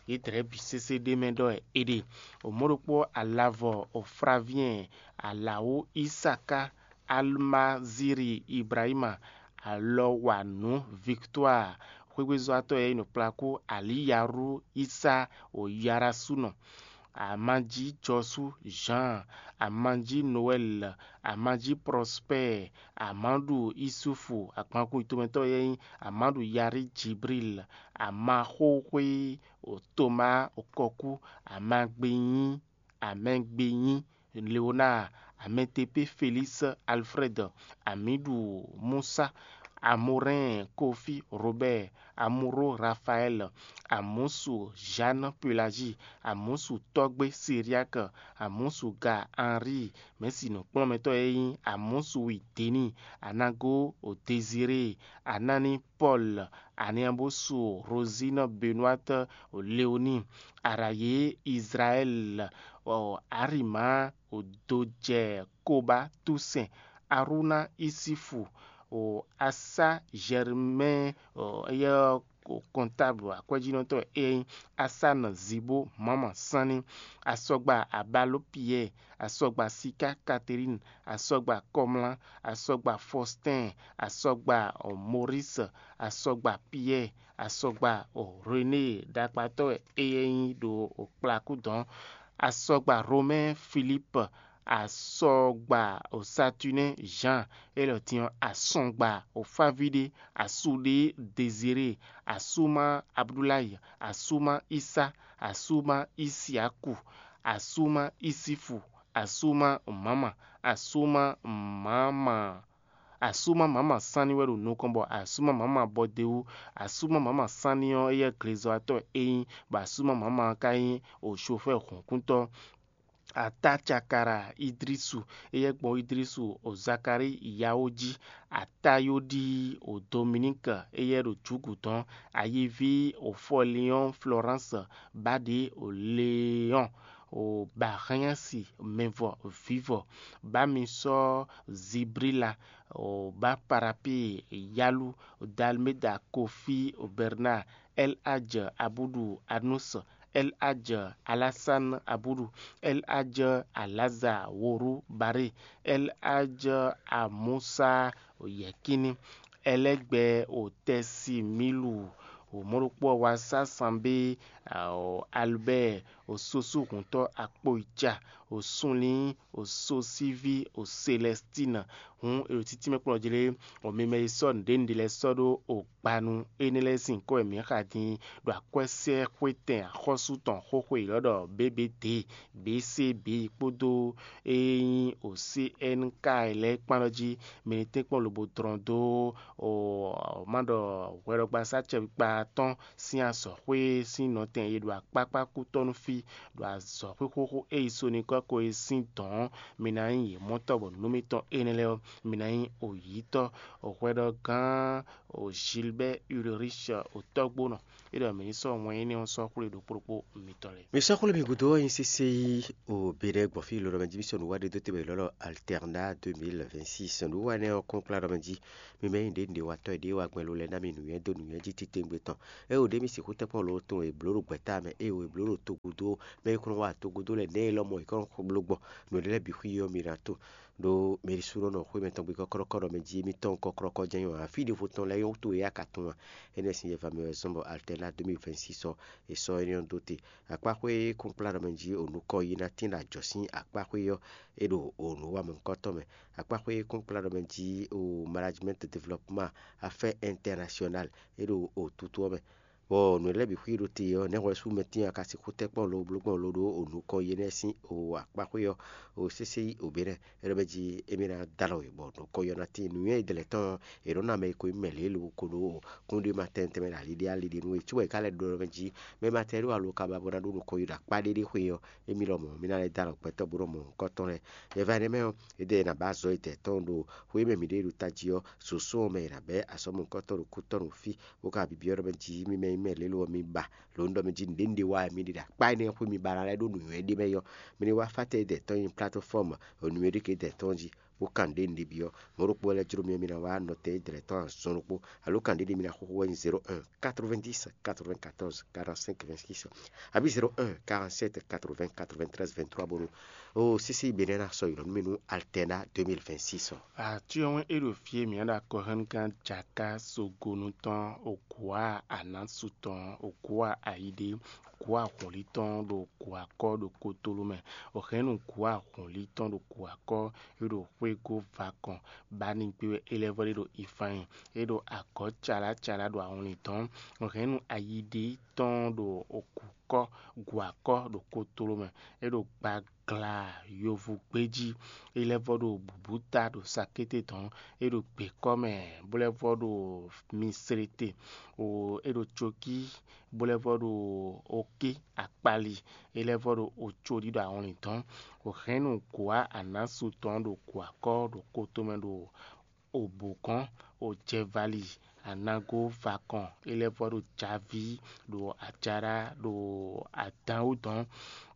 yě dlɛ̌ bǐ sésé ɖ'é mɛ ɖɔ è ɖe. O mɔ̌ ɖokpó Alavɔ o Flaviɛn, Alawú Isaká, Almaziri Ibrahima, Alɔwanǔ Victoire, xwégbézɔ́watɔ́ e nyí nǔkplakú Alíyarú Isa o Yarasúnɔ, Amanjí Jɔsú Jean, Amanjí Noɛl, Amanjí Prospère, Amadu Isufu, agbankun tomɛtɔ́ e nyí Amadu Yari Jibril, Amaxóxwé o Toma Okɔkú, Amagbenyí, Amɛgbenyí Leonard, Amɛtepé Félix Alfred, Amiɖu Musa, Amorɛn Kofi Robert, Amuro Rafael, Amusu Jeanne Pelagie, Amusu Tɔgbe Syriaque, Amusu Ga Henri, mɛ̌si nǔkplɔ́nmɛtɔ́ e nyí Amusu Wideni, Anago Désiré, Anani Paul, Aniabosu Rosine Benoîte, Léonie, Arayé Israël, Arima, Dojɛ Koba Toussaint, Aruna Isifu, Asa Germain, éyɛ́ kɔntáblu akwɛ́jínɔtɔ́ e nyí Asana Zibo Mama Sanni, Asɔgba Abalo Pierre, Asɔgba Sika Catherine, Asɔgba Kɔmla, Asɔgba Faustin, Asɔgba Maurice, Asɔgba Pierre, Asɔgba René ɖakpatɔ́ e nyí ɖo kplakú dɔn, Asɔgba Romain Philippe, Asɔgba Saturnin Jean, élɔ́ din ɔ́, Asɔgba Faviɖé, Asuɖé Désiré, Asuma Abdoulaye, Asuma Isa, Asuma Isiaku, Asuma Isifu, Asuma Mama, Asuma Mama. Asuma Mama Sanni wɛ ɖo nukɔn bɔ Asuma Mama Bɔdeu, Asuma Mama Sanni ɔ́, éyɛ́ glezɔ́watɔ́ e nyí, bɔ Asuma Mama ka nyí o chofɛ́ hɔ̌nkuntɔ́. Atacakara Idrisu, éyɛ́ gbɔn Idrisu o Zakari Yawo jí, Atayodi o Dominík, éyɛ́ ɖo jǔgǔ dɔn, Ayiví o Fɔliɔ́n Florence, Báɖě o Leɔ́n, o Bahanyasi mɛvɔ vǐvɔ, Bamisɔ Zibrila, o Baparapí Yalu, o Dalmeda Kofi o Bernard, El Hadj Abudu Anus, El Hadj Alasan Abudu, El Hadj Alaza Woru Bare, El Hadj Amusa Yɛkini, Ɛlɛgbɛ o Tɛsimilu, o mɔɖokpó ɔ́ wá sá sanbé, o Albert, o Sosu hǔntɔ́ Akpoyica, o Sunlin, o Sosivi, o Celestine. Hǔn è ɖo títí mɛ kplɔ́n jlé, o mi mɛ e sɔ́ nǔɖé nǔɖé lɛ́ɛ sɔ́ ɖó o gbanu énɛ́ lɛ́ɛ sín nyǐkɔ wɛ mǐ xa din ɖo akwɛ́sɛ́xwétɛn axɔ́sú tɔn xóxó élɔ́ ɖɔ B B D, B C B kpódó e nyí o C N K lɛ́ɛ kpán ɔ́ jí. Mi ní tɛ́nkpɔ́n lobo dlɔ́n dó o má ɖɔ hwɛɖɔgbasá acɛkpikpa atɔ́ɔ́n sín azɔ̌xwé sín nɔtɛn e ɖo akpákpá kútɔ́ nú fí, ɖo azɔ̌xwé xóxó e yi so n'i kɔ́ ko e sín dɔ̌n. Mi ná nyí yě mɔtɔ́ bɔ nǔ mitɔn énɛ́ lɛ́ɛ ɔ́, mi ná nyí oyǐtɔ́. Hwɛɖɔgán Gilbert Ulrich, o tɔ́gbónɔ. É ɖɔ mǐ ní sɔ́ wɛn énɛ́ ɔ́ sɔ́ xwlé ɖokpó ɖokpó mitɔn lɛ́ɛ. Mi sɔ́ xwlé mi gúdo ɔ́, nyi sésé yí o Benɛ́ gbɔn fí lɔlɔmɛ jí, mi sɔ́ nǔ wá ɖé dó te bɔ è lɔ́ ɖɔ Alternat deux mille vingt-six. Nǔ wá énɛ́ ɔ́ kɔn kplá ɖɔ mɛ jí. Mi mɛ nyí ɖěɖěwatɔ́ e ɖě wa gbɛn lo lɛ́ɛ ná mi nǔnywɛ́ dó nǔnywɛ́ jí titewungbe tɔn. É o ɖě mi sixú tɛ́nkpɔ́n lo tɔn e blǒ ɖo gbɛ̌ta mɛ, é o e blǒ ɖo togúdo, mɛ e kɔn wá togúdo lɛ́ɛ nɛ́ e lɔmɔ̌ è kɔn bló gbɔn nǔ ɖé lɛ́ɛ bǐ xwí ɔ́, mi ná to. Ɖó mɛ ɖisúnɔ nɔ xwé mɛtɔn gbe kɔ́kɔ́ɖɔkɔ́ɖɔ mɛ jí émítɔn kɔkɔ́ɖɔkɔ́ jɛ́n nyí wǎn. Fí ɖěvo tɔn lɛ́ɛ nyɔ́ wútu e a ka tunwun a? Énɛ́ sín yɛva mɛ wɛ zɔ́n bɔ Alternat deux mille vingt-six ɔ́, è sɔ́ énɛ́ ɔ́ dó te. Akpáxwé kúnkplá ɖɔ mɛ jí o nukɔn yi ná tín ɖo ajɔ̌ sín akpáxwé ɔ́, é ɖo o nǔ wa mɔ̌hunkɔtɔn mɛ. Akpáxwé kúnkplá ɖɔ mɛ jí o management développement affaires internationales, é ɖo o tutu ɔ́ mɛ. Bɔ nǔ lɛ́ɛ bǐ xwí ɖo te ɔ́, nɛ̌ hwɛ sú mɛ tín a ka sixú tɛ́ kpɔ́n lo bló gbɔn lo ɖó o nukɔn yi énɛ́ sín o akpáxwé ɔ́, o sésé yí o bě nɛ́? É ɖɔ mɛ jí émí ná dó alɔ wě bɔ nukɔn yi ɔ́ ná tín nǔnywɛ́ yi dɛlɛ tɔn ɔ́, è nɔ́ ná mɛ e ko nyí mɛ lě lo ko ɖó kúnɖéma tɛnmɛ tɛnmɛ ɖo ali ɖé ali ɖé nú we. Cóbɔ è ka lɛ́ ɖɔ mɛ jí mɛ ma tɛ ɖó alo ka ba bó ná ɖó nukɔn yi ɖo akpá ɖé ɖé xwe ɔ́, émí lɔmɔ̌ mí ná lɛ́ dó alɔ gbɛtɔ́ bó nɔ mɔ nukɔntɔn lɛ́ɛ. Yɛ va énɛ́ mɛ ɔ́, é ɖɔ è nǎ ba azɔ̌ etɛ́ tɔn ɖo xwé mɛ mǐ ɖe ɖo tají ɔ́, soso ɔ́ mɛ è nǎ bɛ́ asɔ́mɔ̌hunkɔtɔn ɖo kútɔ́ nú fí, bó ka byɔ́ ɖɔ mɛ jí mí mɛ nyí mɛ lě lo ɔ́, mí ba. Lǒ un ɖɔ mɛ jí nǔɖé un ɖe wa wɛ mi ɖe ɖo akpá énɛ́ xwé mi ba ná lɛ́ ɖó nǔnywɛ́ ɖé mɛ yɔ. Mi ní wá fátɛ́ dɛ̌tɔ́ nyi plateforme nǔnywɛ́ ɖé ke dɛ̌tɔ́ jí, bó kan nǔɖé un ɖe byɔ́. Mɔ̌ ɖokpó wɛ lɛ́ jló mì ɔ́, mi ná wá nɔtɛn dɛ̌tɔ́ azɔn ɖokpó, alo kan ɖé ɖé mi ná xóxó wɛ nyí zéro un quatre-vingt-dix quatre-vingt-quatorze quarante-cinq vingt-six, abǐ zéro un quarante-sept quatre-vingts quatre-vingt-treize vingt-trois bónú. O sísí Benɛ́ ná sɔ́ ylɔ̌ nú mì nú Alternat deux mille vingt-six ɔ́. Atyɔ́wɛn e ɖo fí e mǐ ɖo akɔhɛ́nugán Jaká Sogonu tɔn, Ogwǎ Anásu tɔn, Ogwǎ Ayidé, Ogwǎ Hɔnlí tɔn ɖo Gwǎkɔ́ ɖo Kotolú mɛ. Òhɛ́nnu Gwǎ Hɔnlí tɔn ɖo Gwǎkɔ́ e ɖo xwégó vakɔn Banígbé wɛ é lɛ́ vɔ́ ɖe ɖo Ifáin. É ɖo agɔ̌ calá calá ɖo awlin dɔn. Òhɛ́nnu Ayidé tɔn ɖo Ogǔkɔ́ Gwǎkɔ́ ɖo Kotolú mɛ. É ɖo gbagla yovu gbéjí. É lɛ́ vɔ́ ɖo bǔbúta ɖo sakété dɔn. É ɖo gběkɔ́ mɛ bó lɛ́ vɔ́ ɖo mislete. O é ɖo cokí bó lɛ́ vɔ́ ɖo oké akpali. É lɛ́ vɔ́ ɖo ocoɖí ɖo awlin dɔn. Òhɛ́nnu Gwǎ Anásu tɔn ɖo Gwǎkɔ́ ɖo kótomɛ ɖo Obogɔ́n, Ojɛvali, Anago, Vakɔn, é lɛ́ vɔ́ ɖo Javí, ɖo Ajaɖá, ɖo Adǎnwúdɔn,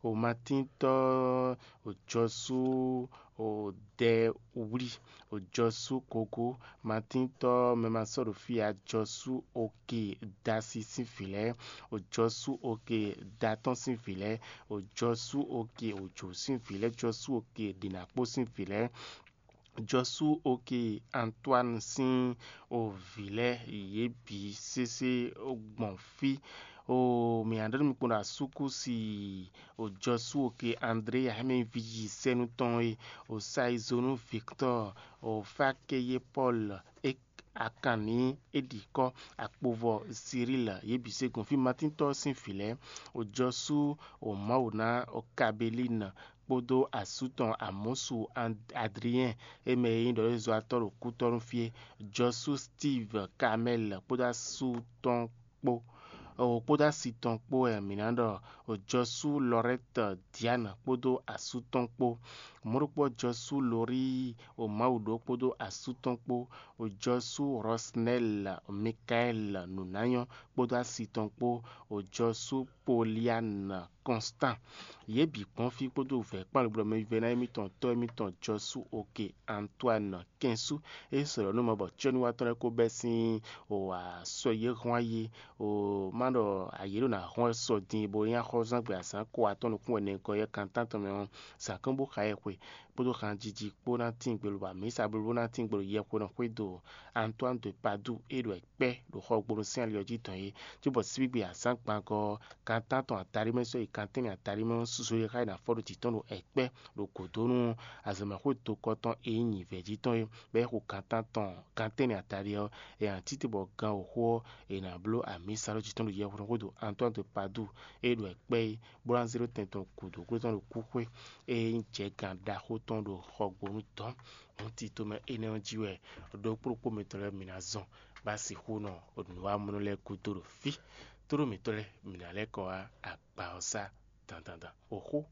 Omatíntɔ́, Ojɔsú, Odɛwlí, Ojɔsú Gogo, Matíntɔ́, mɛ ma sɔ́ ɖo fí ǎ, Jɔsú Oke, Dasi sín vǐ lɛ́ɛ, Ojɔsú Oke, Datɔ́n sín vǐ lɛ́ɛ, Ojɔsú Oke, Ojo sín vǐ lɛ́ɛ, Jɔsú Oke, Ɖinakpó sín vǐ lɛ́ɛ, Jɔsú Oke Antoine sín o vǐ lɛ́ɛ yě bǐ sésé gbɔn fí. O mǐ ná ɖɔ nú mi kpɔ́n ɖo asúkúsi o Jɔsú Oke André Yahɛmɛ ví yi sɛ́nú tɔn e o Saizonu Victor o Fakeye Paul e Akanní e ɖi kɔ́ akpovɔ Cyril yě bǐ se gbɔn fí Matíntɔ́ sín vǐ lɛ́ɛ, o Jɔsú o Mawu ná o Kabelín kpódó asú tɔn Amɔ̌su Adriɛn e mɛ e nyí ɖɔ̌yɔ́zɔ́watɔ́ ɖo kútɔ́ nú fí é, Jɔsú Steve Kamɛ́l kpódó asú tɔn kpó, o kpódó asi tɔn kpó wɛ mǐ ná ɖɔ, o Jɔsú Lɔrɛ́t Diane kpódó asú tɔn kpó. Mɔ̌ ɖokpó Jɔsú Lorí o Mawu ɖó kpódó asú tɔn kpó, o Jɔsú Rɔsnɛ́l Mikaɛ́l nǔnányɔ́ kpódó asi tɔn kpó, o Jɔsú Polian Kɔnstan. Yě bǐ kpɔ́n fí kpódó vɛ̌ kpán lobɔ mɛ vɛ́ná émítɔn tɔ́ émítɔn Jɔsú Oke Antoine Kɛnsú e sɔ̌ nú mɔ bɔ cyɔ́núwatɔ́ lɛ́ɛ kó bɛ́ sín o asɔ yě hɔn ayé o má ɖɔ ayě ɖo ná hɔn sɔ din bo nyí axɔ́zán gbe azǎn ko atɔ́ nukún ɛnɛ gɔ́ yɛ kantántɔn mɛ ɔ́, zǎn kɔn bó xa yɛ xwe kpódó hanjiji kpó ná tín gbe lobɔ amǐsa blóbló ná tín gbe ɖo yɛxwenɔ xwé do Antoine de Padoue e ɖo kpɛ́ ɖo xɔgbónu sín ali ɔ́ jí tɔn é, cóbɔ síbígbe azǎn gbangɔ ɔ́, kan tántɔn ataɖí mɛ sɔ́ yi kan tɛ́nnɛ ataɖí mɛ ɔ́, susu e xá yi ná fɔ ɖo jǐ tɔn ɖo ɛkpɛ́ ɖo gǒdó nú azɔ̌mɛxwé dokɔ tɔn e nyí nyǐvɛ́ jí tɔn é, bɔ é xo kan tántɔn kan tɛ́nnɛ ataɖí ɔ́, è nǎ títí bɔ gan wǒxo ɔ́, è nǎ bló amǐsa ɖó jǐ tɔn ɖo yɛhweɖɔxódo Antoine de Padoue e ɖo ɛkpɛ́ é, bó ná zé ɖó tɛn tɔn gǔdo gló tɔn ɖo kúxwé e nyí jɛ̌gan ɖaxó tɔn ɖo xɔgbónu dɔn. Hǔn tito mɛ énɛ́ ɔ́ jí wɛ ɖokpó ɖokpó mitɔn lɛ́ɛ mǐ ná zɔn bó ná sixú nɔ nǔwamɔnɔ lɛ́ɛ gúdo ɖo fí. Tlóló mǐtɔn lɛ́ɛ, mǐ ná lɛ́ kɔ wá agba ɔ́ sá dandandan. Oxó